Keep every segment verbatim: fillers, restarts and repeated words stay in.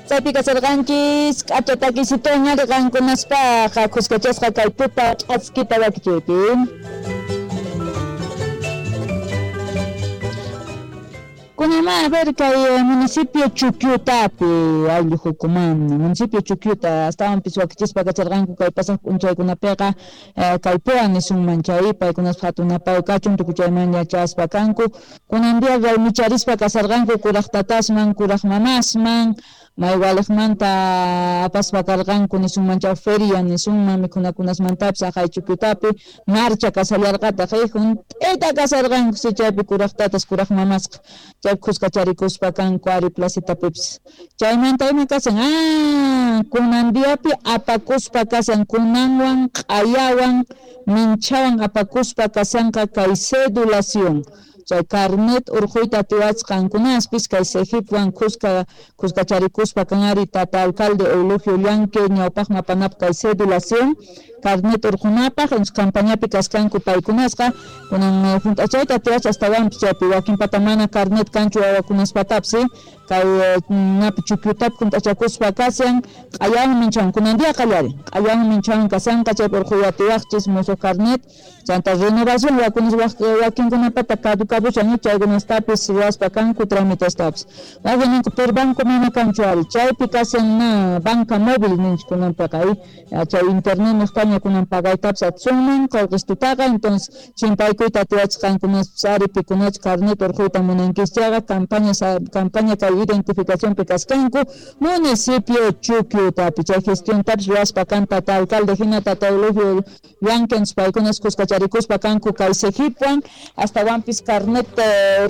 Chaypi kasarqanchis k'acha takisitoña riqankunaspaq khuskachasqa kay tuta ch'askita wakichiypi. Kunama a ver kay municipio Chukyutapi ayllu hukuman municipio Chukyuta astawanpis wakichispa kacharqanku kay pasaq p'unchaykunapiqa kay Poa nisunman chay paykunaspa hatunapay kachun tukuchayman yachaspa kanku kunan día raymicharispa kasarqanku kuraq tatasman kuraq mamasman maywaliqmanta apaspa karqanku nisunman chay feria nisunman mikhunakunasmantapis aqhay Chukyutapi marcha kasallarqataq hunt'ita kasarqanku si chaypi kuraq tatas kuraq mamasqa chay khuskacharikuspa kanku ari placitapipis chaymanta ima kasan ah kunan diapi apakuspa kasan kunanwan q'ayawan minchawan apakuspa kasanqa kay cedulación chay carnet urquyta atiwasqankunaspis kay Cejipwan khuska khuskacharikuspa kan ari tata alcalde Eulogio Llanque ñawpaqman apanapaq kay cedulación carnet urqunapaq campañapi kaskanku paykunasqa kunan hunt'achayta atiwach astawanpis chaypi wakinpata mana carnet kanchu wawakunaspatapis kay napi Chukyutapi hunt'achakuspa kasan q'ayawan minchawan kunan día qallarin q'ayawan minchawan kasanqa chaypi urquy atiwaqchis musuq carnet chanta renovación wakunas wakinkunapata caducabushan chaykunastapis ruwaspa kanku tramitestapis wakin ninku per banco mana kanchu ari chaypi kasan na banca móvil ninchik kunanpiqa chay internet niqtaña kunan pagaytapis atisunman qullqistutaqa entonces chimpaykuyta atiwachqankunaspis ari pikunach carnet urquyta munankis chayqa campaña campaña kay identificacionpi kaskanku municipio Chukyutapi chay gestiontapis ruwaspa kan tata alcalde hina tata Eulogio Llanque paykunas kuskacharikuspa kanku kay Cejipwan astawanpis carnet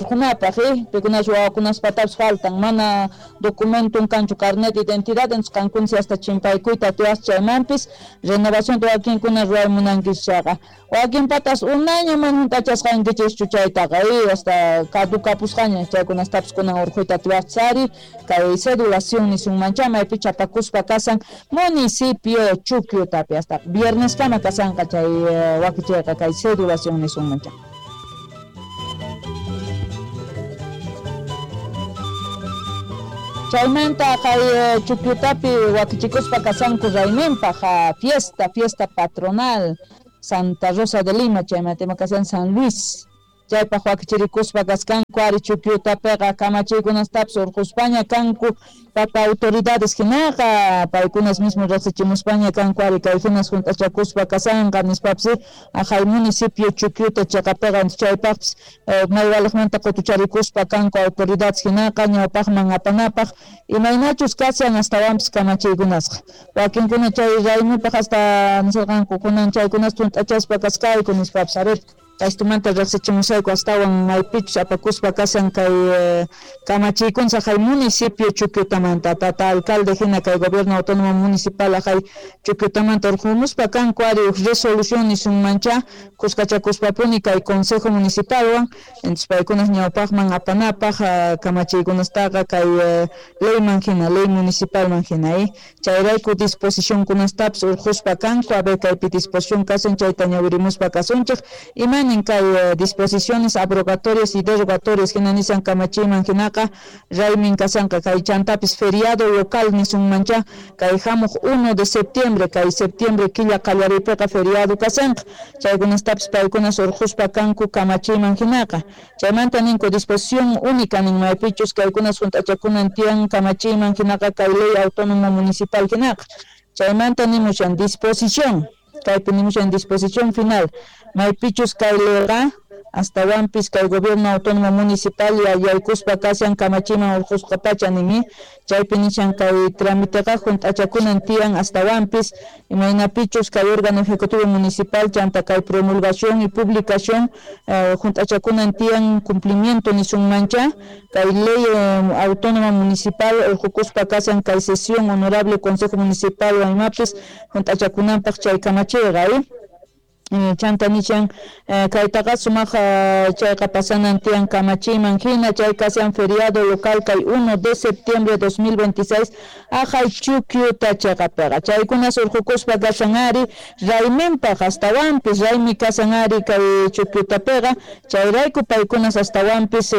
urqunapaq pikunas wawakunaspatapis faltan mana documentum kanchu carnet de identidad entonces kankunsi hasta chimpaykuyta atiwaq chaymanpis renovación wakinkuna ruway munankis chayqa wakinpatas unayña mana hunt'achasqankichischu chaytaqa hasta caducapusqaña chaykunastapis kunan urquyta atiwaq ari kay cedulación nisunman chay maypi chapakuspa kasan municipio Chukyutapi hasta vierneskama kasanqa chay wakichayqa kay cedulación nisunman chay. Chaymanta kay Chukyutapi wakichikuspa kasanku rayminpaq fiesta fiesta patronal Santa Rosa de Lima chaymanta ima kasan San Luis chaypaq wakichirikuspa kaskanku ari Chukyutapiqa kamachiykunastapis urquspaña kanku papa autoridades hinaqa paykunas mismo riqsichimuspaña kanku ari kay hinas hunt'achakuspa kasanqa nispapis aqhay municipio Chukyuta chaqapiqa chaypaqpis maywaliqmanta qutucharikuspa kanku autoridades hinaqa ñawpaqman apanapaq imaynachus kasan astawanpis kamachiykunasqa wakinkuna chay raymipaq hasta nisarqanku kunan chaykunas hunt'achaspa kaskayku nispapis a ver Kaystumanta riqsichimusayku astawan maypichus apakuspa kasan kay kamachiykunsa hay municipio Chukyutamanta tata alcalde hina kay gobierno autónomo municipal hay Chukyutamanta urqumuspa kanku ari huk resolución nisunmancha kuskachakuspapuni kay consejo municipalwan entonces paykunas ñawpaqman apanapaq kamachiykunastaqa kay leyman hina ley municipalman hina chayrayku disposicionkunastapis urquspa kanku a ver kaypi disposición kasun chayta ñawirimuspa kasunchik ima kay disposiciones abrogatorias y derogatorias hina nisan kamachiyman hinaqa raymin kasanqa kay chantapis feriado local nisunmancha kay hamuq uno de septiembre kay septiembre killa qallariypiqa feriado kasanqa chaykunastapis paykunas urquspa kanku kamachiyman hinaqa chaymanta ninku disposición única nin maypichus kaykunas hunt'achakunan tiyan kamachiyman hinaqa kay ley autónoma municipal hinaqa chaymanta nimushan disposición kaypi nimushan disposición final maypichus kay leyqa astawanpis kay gobierno autónomo municipal yaykuspa kashan kamachiman urqusqa pacha ninmi chaypi nishan kay tramiteqa hunt'achakunan tiyan astawanpis imaynapichus kay órgano ejecutivo municipal chanta kay promulgación y publicación hunt'achakunan tiyan cumplimiento nisunmancha kay ley eh, autónoma municipal urqukuspa kashan kay sesión honorable consejo municipal waymapis hunt'achakunanpaq chay kamachiyqa. Chanta nishan kaytaqa sumaq chayqa pasanan tiyan kamachiman hina chay kashan feriado local kay uno de septiembre dos mil veintiséis ajay Chukyuta chayqapiqa chaykuna surqukuspa kashan ari rayminpaq astawanpis raymi kashan ari kay Chukyutapiqa chayrayku paykunas astawanpis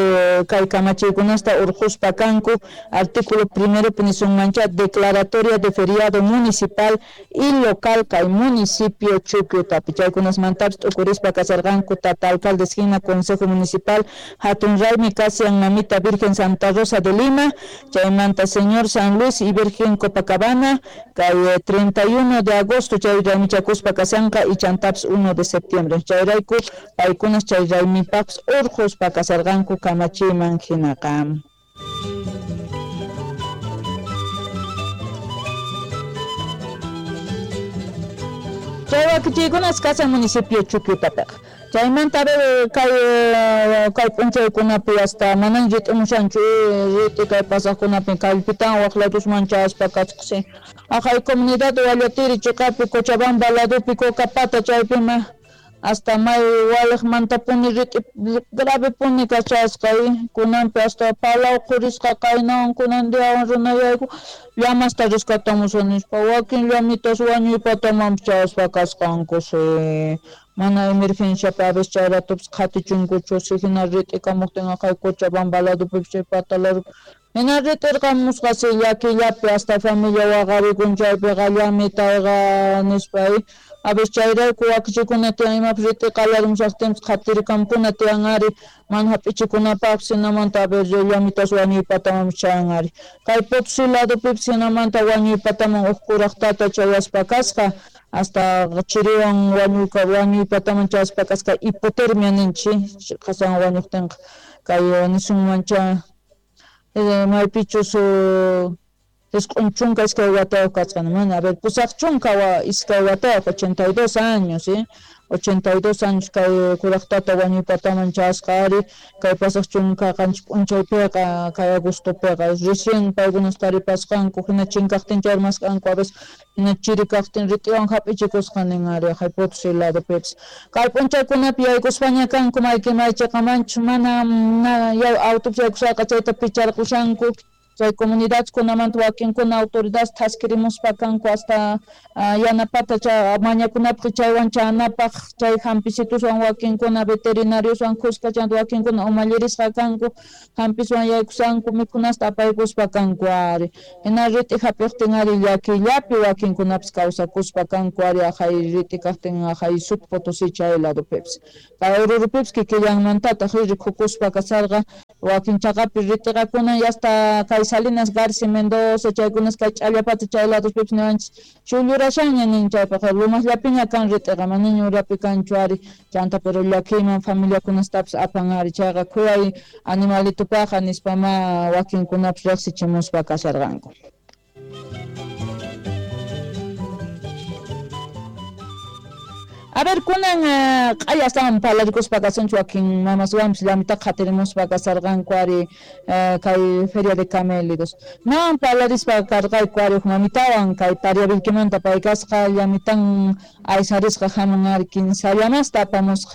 kay kamachiykunasta urquspa kanku artículo primero nisunmancha declaratoria de feriado municipal y local kay municipio Chukyutapi chaykuna mantaps t'ukurispa kasarqanku tata alcaldes hina consejo municipal hatun raymi kashan mamita Virgen Santa Rosa de Lima chaymanta señor San Luis y Virgen Copacabana kay treinta y uno de agosto chay raymichakuspa kashanqa y chantaps uno de septiembre chayrayku paykunas chay raymipaqpis urquspa kasarqanku kamachiman hinaqa. Chay wakichiykunas kashan municipio Chukyutapiqa chaymanta kay kay p'unchaykunapi hasta manan rit'imushanchu rit'i kay pasaqkunapi kallpitan waq ladusman chayaspa kasqasi ajay comunidad Wallatiri chiqapi Cochabamba ladupi Cocapata chaypima hasta may waliqmantapuni rit'i grave puni kachasqa kunanpi hasta palaw qurisqa kaynawan kunan diawan runayayku llamasta rescatamusun nispa wakin llamitas wañuypatamanpis chayaspa kasqanku si mana emergenciapi a veces chay ratupis qhatichunkuchu si hina rit'ikamuqtin aqhay Cochabamba ladupipis chay pata ladupi hina rit'irqamusqa si llakillapi hasta familia waqarikun chaypiqa llamitayqa nispa a veces chayrayku wakichikuna tiyan imapis rit'i qallarmushaqtinpis qhatirikamkuna tiyan ari mana hap'ichikunapaqpis hinamanta a ver llamitas wañuypatamanpis chayan ari kay Potosí ladupipis hinamanta wañuypataman huk kuraq tata chayaspa kasqa hasta chiriwan wañuyka wañuypataman chayaspa kasqa hipotermia ninchik qasan wañuqtinqa kay nisunmancha maypichus isq'un chunka iskay watayuq kasqa mana a ver pusaq chunka iskay watayuq ochenta y dos años ¿eh? ochenta y dos años kay kuraq tata wañuypataman chayasqa ari kay pasaq chunka qanchis p'unchaypiqa kay agostopiqa recién paykunas taripasqanku hina chinkaqtin chay armasqanku a veces hina chiri kaqtin rit'iwan hap'ichikusqa nin ari aqhay Potosí ladupipis kay p'unchaykunapi yaykuspaña kanku mayki maychiqamanchus mana autopis yaykushaqa chayta picharqushanku chay comunidadkunamanta wakinkuna autoridades thaskirimuspa kanku hasta yanapata chay mañakunapaq chaywan chanapaq chay hampisituswan wakinkuna veterinarioswan khuska chanta wakinkuna umallirisqa kanku hampiswan yaykusanku mikhunasta apaykuspa kanku ari hina rit'i hap'iqtin ari llakillapi wakinkunapis kawsakuspa kanku ari aqhay rit'i kaqtin aqhay Sud Potosí chay ladupipis kay Orurupipis kikillanmantataq rikukuspa kasarqa wakin chaqapi rit'iqakuna hasta kay Salinas García Mendoza chaykunas kay ch'allapata chay laduspipis niwanchis chullurashanña nin chaypiqa lumasllapiña kan rit'iqa manaña urapi kanchu ari chanta pero llakiyman familiakunastapis apan ari chayqa khuyay animalitupaqa nispama wakinkunapis riqsichimuspa kasharqanku. A ver, kunan q'aya astawan parlarikuspa kasunchik wakin mamaswanpis llamitaqa qhatirimuspa kasarqanku ari kay feria de camélidos. Nawan parlarispa karqayku ari huk mamitawan kay Pariavilquimanta pay kasqa llamitan aysarisqa hamun ari kinsa llamasta apamusqa.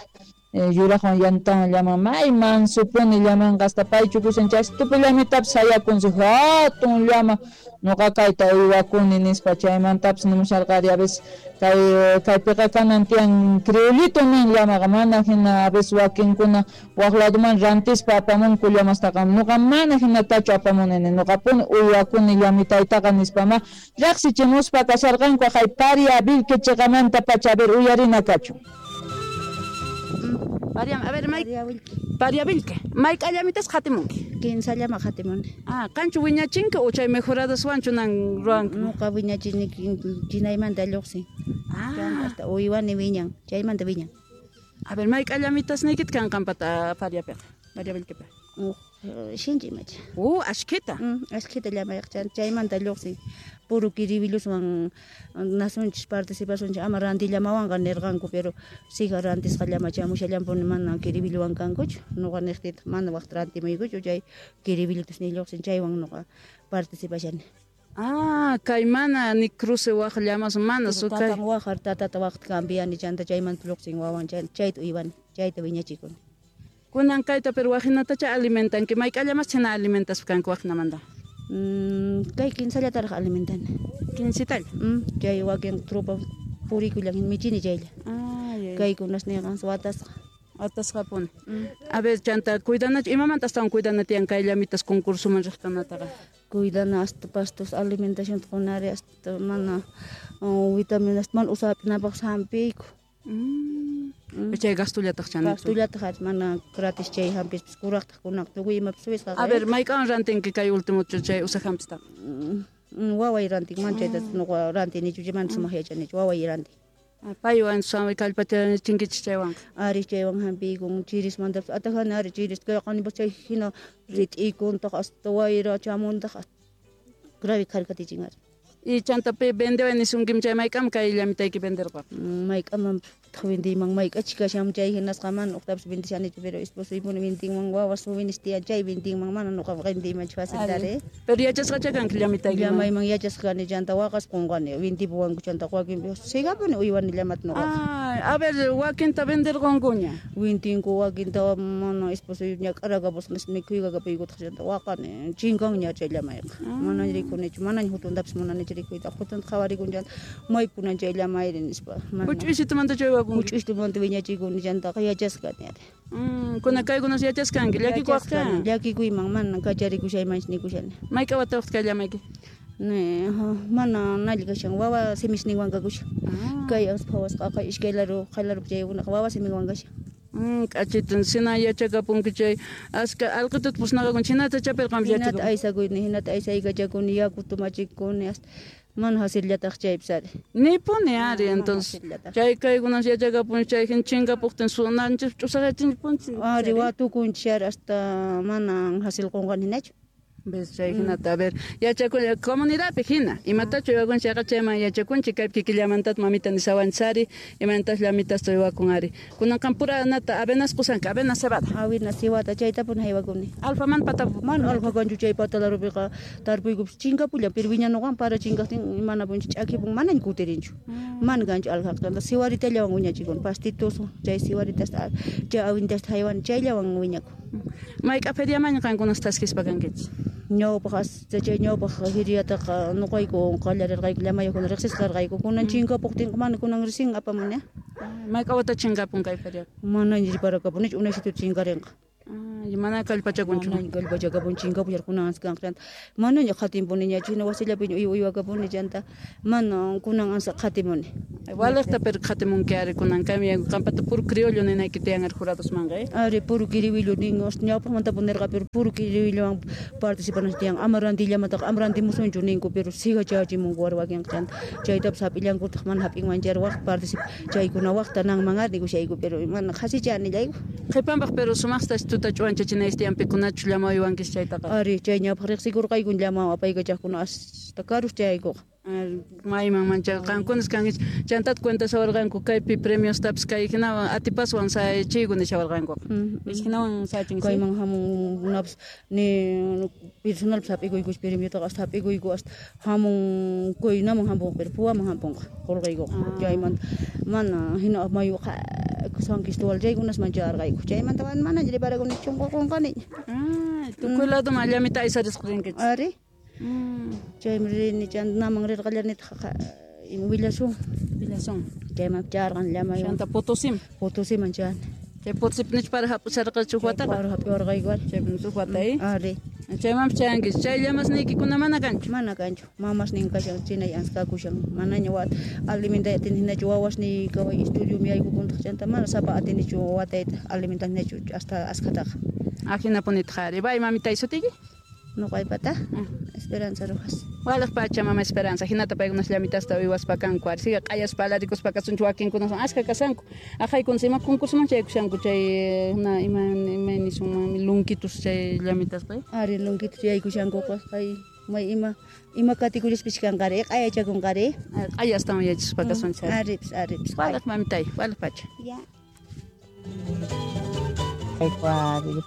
Yuraqwan yantawan llaman may mansupuni llamanqa hasta pay chukushan chay tupu llamitapis sayakunsi hatun llama nuqa kayta uywakuni nispa chaymantapis nimusharqari a veces kay kaypiqa kanan tiyan criollito nin llamaqa mana hina a veces wakinkuna waq laduman rantispa apamunku llamastaqa nuqa mana hinatachu apamuni nuqapuni uywakuni llamitaytaqa nispama riqsichimuspa kasharqanku aqhay Pariavilque chiqamanta pacha a ver uyarina kachun. Pariam, a ver, may Pariavilque. Mayk'a llamitas qhatimunki? Kinsa llama qhatimuni. Ah, qanchu wiñachinki o chay mejoradaswanchu nan ruwanki? Nuqa wiñachini chinaymanta lluqsin. Ah, hasta uywani wiñan, chaymanta wiñan. A ver, mayk'a llamitasniykita kan qampata Pariapiqa, Pariavilquepi. Uj, shinchi imacha. Uh, ashkhita. Mm, ashkhita llamayaq chaymanta lluqsin. Puro kiribilluswan nasunchis participasunchis ama rantillamawanqa nirqanku pero siga rantisqa llama chamushallampuni mana kiribilluwan kankuchu nuqa niqtitaq mana waqta rantimuykuchu chay kiribillutas ni lluqsin chaywan nuqa participashani. Ah, kay mana ni cruce waq llamas mana su kay. Tatan waqar tatata waqt cambiani chanta chaymanta lluqsin wawan chayta uywani, chayta wiñachikuni. Kunan kayta pero waqhinatacha alimentanki, mayk'a llamas chhina alimentaspa kanki waqhinamanta? Mm, kay kinsallataraq alimentani. Kinsitalla? Mm, chay wakin tropa purikullan michini chaylla. Ah, Kaykunas niqan watasqa. Watasqapuni. A ver, chanta, cuidanachu, imamanta astawan cuidana tiyan kay llamitas concursoman riqkunataqa? Cuidana hasta pastos alimentación qunari hasta mana vitaminas mana usapinapaq hampiyku. Mm. Chay gastullataq chanichu. Gastullataq mana gratis chay hampispis kuraqtaq kunaq tukuy imapas suwisqaqa. A ver, mayk'awan rantinki kay último chay usaq hampistaqa? Waway rantin, mana chayta nuqa rantinichu, mana sumaq yachanichu, waway rantin. Paywan samay kallpachinkichik chaywanqa. Ari chaywan hampiykun chirismantapas atajani ari chiris kayqanipas chay hina rit'ikuntaq hasta wayra chamuntaq grave kharkatichin ari. Y chanta pi vendeway nisunkim chay mayk'am kay llamitayki venderqa? Mayk'aman vendiyman mayk'achi kashan chay hinasqa mana uqtapas vendishanichu pero esposoypuni vendinman wawas jóvenes tiyan chay vendinman mana nuqa vendiymanchu faciltari. Pero yachasqacha kanki llamitayki? Llamayman yachasqa kani chanta waqaspa qunqani vendipuwanku chanta wakinpi sigapuni uywani llamata nuqaqa. Ah, a ver, wakinta venderqunkuña? Vendinku wakinta mana esposoy ñak'arakapusqa nispa mikhuykakapuykutaq chanta waqani chinkanña chay llamayqa. Manaña rikunichu manaña hutuntapas munanichu rikuyta hutunta qhawarikun chanta maypunan chay llamayri nispa. Huch'uysitumanta chay wakunki? Huch'uysitumanta wiñachikuni chantaqa yachasqa kani ari. Mm, kuna kaykunas yachaskanki llakikuwaqcha? Llakikuyman mana kacharikushaymanchu nikushani. Mayk'a watayuqtaq kay llamayki? Ne, mana nalli kashan wawa simisninwan kakushan. Kay phawasqaqa iskay laru qhaylarupi chaykunaqa wawa siminwan kashan. Mm, k'achitun sina yachakapunki chay aska alqituta pusnaqakun chinata chapirqanpi Hinata yachakun. aysakuyni hinata aysaykachakuni yakuta machikuni hasta mana hasillataq chaypis ari. Nipuni ari entonces chay kaykunas yachakapun chay hin chinkapuqtin sunanchis ch'usaqachinpunchis. Ari watukunchis ari hasta mana hasil qunqani hinachu. Ves chay hinata a ver yachakun comunidadpi hina imatachu uywakun chayqa chayman yachakunchik kaypi kikillamantataq mamita nisawanchis ari imaynataq llamitasta uywakun ari kunanqa pura nata avenas qusanki avena cebada. Avena cebada chaytapuni haywakuni. Alfaman pata mana alfa kanchu chay patalarupiqa tarpuykupis chinkapullan pero wiñanuqan para chinkaqtin manapunchis ch'akipun manaña kutirinchu. Mana kanchu alfaqa chanta siwaritallawan wiñachikuni pastitus chay siwaritasta chay awintasta haywani chayllawan wiñakun. Mayk'a feriamaña qankunas taskispa kankichis? Ñawpaq hasta chay ñawpaq feriataqa nuqayku qallarirqayku llamayuqkuna riqsisqarqayku kunan chinkapuqtinqa mana kunan risin apamuni. Mayk'a wata chinkapun kay feria? Manaña riparakapunichu unaysitu chinkarinqa. Mana kallpachakunchu. Manaña kallpachakapun chinkapullar kunan ansa kanqa chanta manaña qhatinpuniñachu hina wasillapiña uywa uywakapuni chanta mana kunan ansa qhatimuni. Waliqta pero qhatimunki ari kunan kaymi qampata puro criollo ninayki tiyan ari juradosmanqa eh? Ari puro kiriwillo nin ñawpaqmantapuni nirqa pero puro kiriwillowan participananchis tiyan ama rantillamataqa ama rantimusunchu ninku pero siga chayachimunku ari wakinqa chanta chaytapas hap'illankutaq mana hap'inmanchu ari waq particip chaykuna waqta nanman ari nikushayku pero mana qhasicha nillayku. Qhipanpaq pero sumaqta tuta ch'uwanchachinaysi tiyan pikunachu llama uywankis chaytaqa? Ari chay ñawpaq riqsikurqayku llama apaykachaqkuna hasta karus chayaykuqa. Mayman mancha qankunas kankichis chantat cuenta sawarqanku kaypi premiostapis kay hinawan atipaswan sayachiyku nishawarqankuqa. Hinawan sayachinki? Kayman hamunkunapas ni personalpas hap'ikuykus premiotaqa hasta hap'ikuyku hasta hamun kuynaman hampunqa pero puwaman hampunqa qurqaykuqa chaymanta mana hina mayu San Cristóbal chaykunasman chayarqayku chaymanta manaña riparakunichu chunqa qunqaniña. Tukuy ladoman llamita aysarisqa rinkichis. Ari. Chaymi rini chanta naman rirqallanitaq willasun. Willasun. Chayman chayarqani llamaywan. Chanta Potosíman. Potosíman chayani. Chay Potosípi nichu para hap'isharqachu huk wataqa? Para hap'iwarqayku ari. Chaypi huk wata eh? Ari. Chaymanpas chayankichis. Chay llamasniykikuna mana kanchu? Mana kanchu. Mamasnin kashan chinay ansa kakushan. Manaña wat alimentay atini hinachu wawasniy kaway estudiomi yaykukuntaq chanta mana sapa atinichu watayta alimentanichu hasta askhataqa. Ajinapunitaq ari. Bay mamitay sutiyki? Nuqaypata Esperanza Rojas. Waliq pacha mama Esperanza hinata paykunas llamitasta uywaspa kanku ari siga q'ayaspa alarikuspa kasunchu wakinkunas askha kasanku aqhaykunas ima concursoman chaykushanku chay na ima ima nisunman lunkitus chay llamitasqa ari lunkitus yaykushankuqa kay may ima ima categoriaspis kanqari q'ayachakunqari q'ayastawan yachaspa kasunchis aripis aripis waliq mamitay waliq pacha ya. Thank you. Kay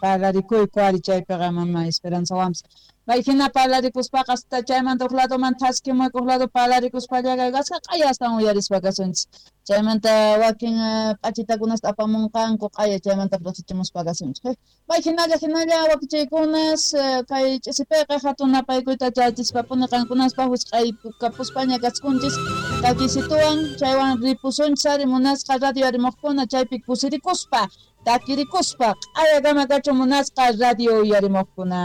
parlarikuyku ari chaypiqa mama Esperanzawanpas. May hina parlarikuspaqa hasta chaymanta huk ladoman thaskimuy huk lado parlarikuspallaqa asqa q'aya astawan uyarispa kasunchis. Chaymanta wakin p'achitakunasta apamunqanku q'aya chaymanta riqsichimuspa kasunchis. May hinalla hinalla wakichaykunas kay ch'isipiqa hatun napaykuyta chayachispapuni qankunaspaq wisq'aykapuspaña kachkunchis takisituwan chaywan ripusunchis ari munasqa radio uyarimuqkuna chaypi kusirikuspa takirikuspa q'aya kama kachun munasqa radio uyarimuqkuna.